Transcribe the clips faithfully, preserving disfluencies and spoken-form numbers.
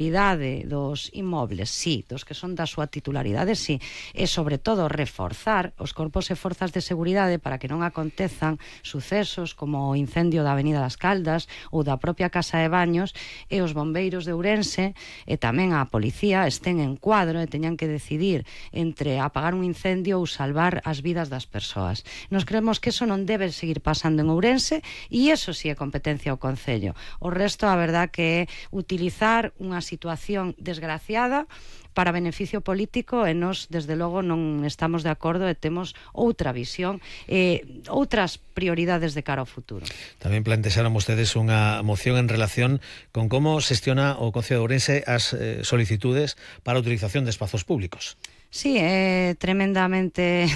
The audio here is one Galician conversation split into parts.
idade dos inmobles, sí, dos que son da súa titularidade, sí, e sobre todo reforzar os corpos e forzas de seguridade para que non acontezan sucesos como o incendio da Avenida das Caldas ou da propia Casa de Baños, e os bombeiros de Ourense e tamén a policía estén en cuadro e teñan que decidir entre apagar un incendio ou salvar as vidas das persoas. Nos creemos que eso non debe seguir pasando en Ourense, e eso sí é competencia ao Concello. O resto, a verdad que é utilizar unha situación desgraciada para beneficio político, e nós, desde logo, non estamos de acordo e temos outra visión e outras prioridades de cara ao futuro. Tamén plantexaron vostedes unha moción en relación con como xestiona o Concello de Ourense as eh, solicitudes para a utilización de espazos públicos. Sí, é tremendamente,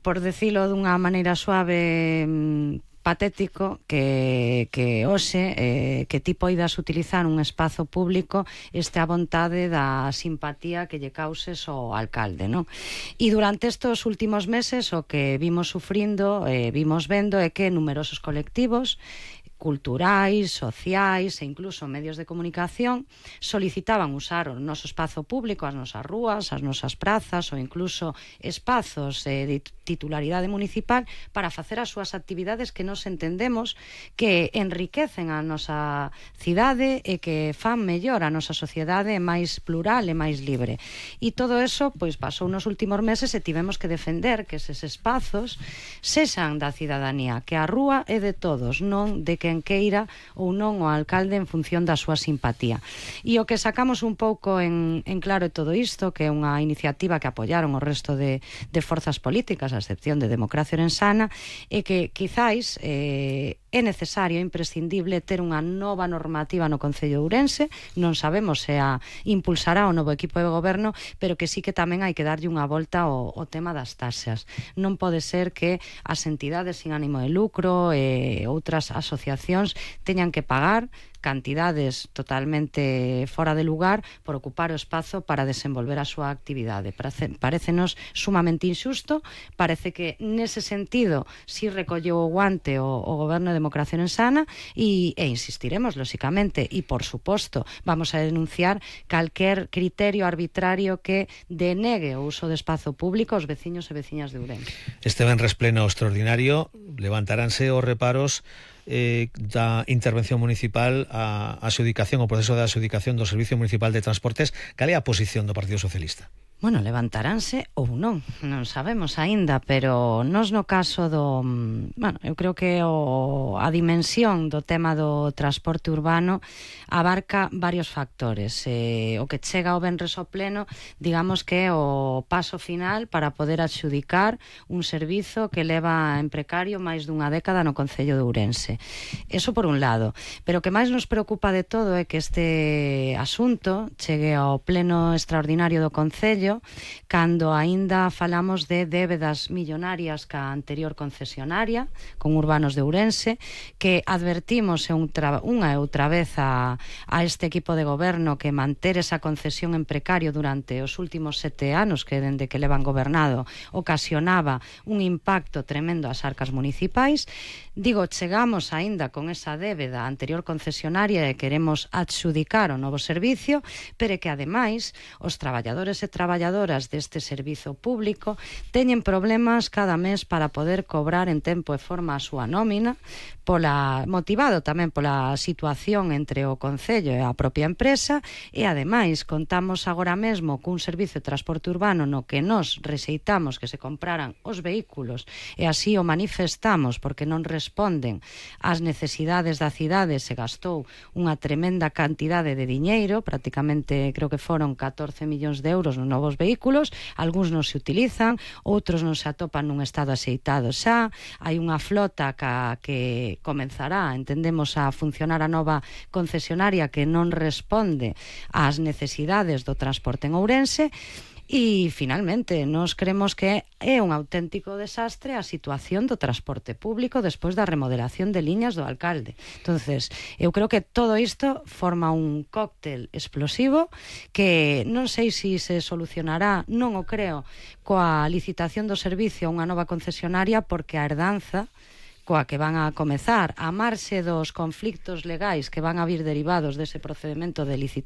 por decilo dunha maneira suave, patético que, que hoxe eh, que ti poidas utilizar un espazo público este a vontade da simpatía que lle causes ao alcalde, non? E durante estes últimos meses o que vimos sufrindo, eh, vimos vendo é que numerosos colectivos culturais, sociais e incluso medios de comunicación solicitaban usar o noso espazo público, as nosas rúas, as nosas prazas ou incluso espazos eh, de titularidade municipal para facer as súas actividades que nos entendemos que enriquecen a nosa cidade e que fan mellor a nosa sociedade máis plural e máis libre. E todo eso pois pasou nos últimos meses e tivemos que defender que eses espazos sexan da cidadanía, que a rúa é de todos, non de quen queira ou non o alcalde en función da súa simpatía. E o que sacamos un pouco en, en claro todo isto, que é unha iniciativa que apoyaron o resto de, de forzas políticas, a excepción de Democracia Orensana, é que quizáis eh, é necesario, imprescindible, ter unha nova normativa no Concello de Ourense. Non sabemos se a impulsará o novo equipo de goberno, pero que sí que tamén hai que darlle unha volta ao, ao tema das taxas. Non pode ser que as entidades sin ánimo de lucro e outras asociacións teñan que pagar cantidades totalmente fora de lugar por ocupar o espazo para desenvolver a súa actividade. Parécenos sumamente injusto, parece que nese sentido si recolleu o guante o, o Goberno de Democracia Orensana e, e insistiremos, lóxicamente, e por suposto vamos a denunciar calquer criterio arbitrario que denegue o uso de espazo público aos veciños e veciñas de Ourense. Este venres pleno extraordinario levantaránse os reparos Eh, da intervención municipal a adxudicación, o proceso de adxudicación do Servicio Municipal de Transportes. Cal é a posición do Partido Socialista? Bueno, levantaránse ou non, non sabemos aínda, pero nos no caso do... Bueno, eu creo que o, a dimensión do tema do transporte urbano abarca varios factores. Eh, o que chega ao venres ao pleno, digamos que é o paso final para poder adxudicar un servizo que leva en precario máis dunha década no Concello de Ourense. Eso por un lado. Pero o que máis nos preocupa de todo é que este asunto chegue ao pleno extraordinario do Concello cando aínda falamos de débedas millonarias ca anterior concesionaria con Urbanos de Ourense, que advertimos unha e outra vez a, a este equipo de goberno que manter esa concesión en precario durante os últimos sete anos que dende que levan gobernado ocasionaba un impacto tremendo ás arcas municipais. Digo, chegamos aínda con esa débeda anterior concesionaria e queremos adxudicar o novo servicio, pero que ademais os traballadores e traballadoras deste servizo público teñen problemas cada mes para poder cobrar en tempo e forma a súa nómina, pola, motivado tamén pola situación entre o Concello e a propia empresa, e ademais contamos agora mesmo cun servizo de transporte urbano no que nos rexeitamos que se compraran os vehículos e así o manifestamos porque non responden ás necesidades da cidade. Se gastou unha tremenda cantidade de diñeiro, prácticamente creo que foron catorce millóns de euros nos novos vehículos, algúns non se utilizan, outros non se atopan nun estado axeitado xa, hai unha flota ca, que comenzará, entendemos, a funcionar a nova concesionaria que non responde ás necesidades do transporte en Ourense. E, finalmente, nos creemos que é un auténtico desastre a situación do transporte público despois da remodelación de liñas do alcalde. Entonces, eu creo que todo isto forma un cóctel explosivo que non sei se se solucionará, non o creo, coa licitación do servicio a unha nova concesionaria, porque a herdanza coa que van a comezar, a marxe dos conflictos legais que van a vir derivados dese procedemento de licitación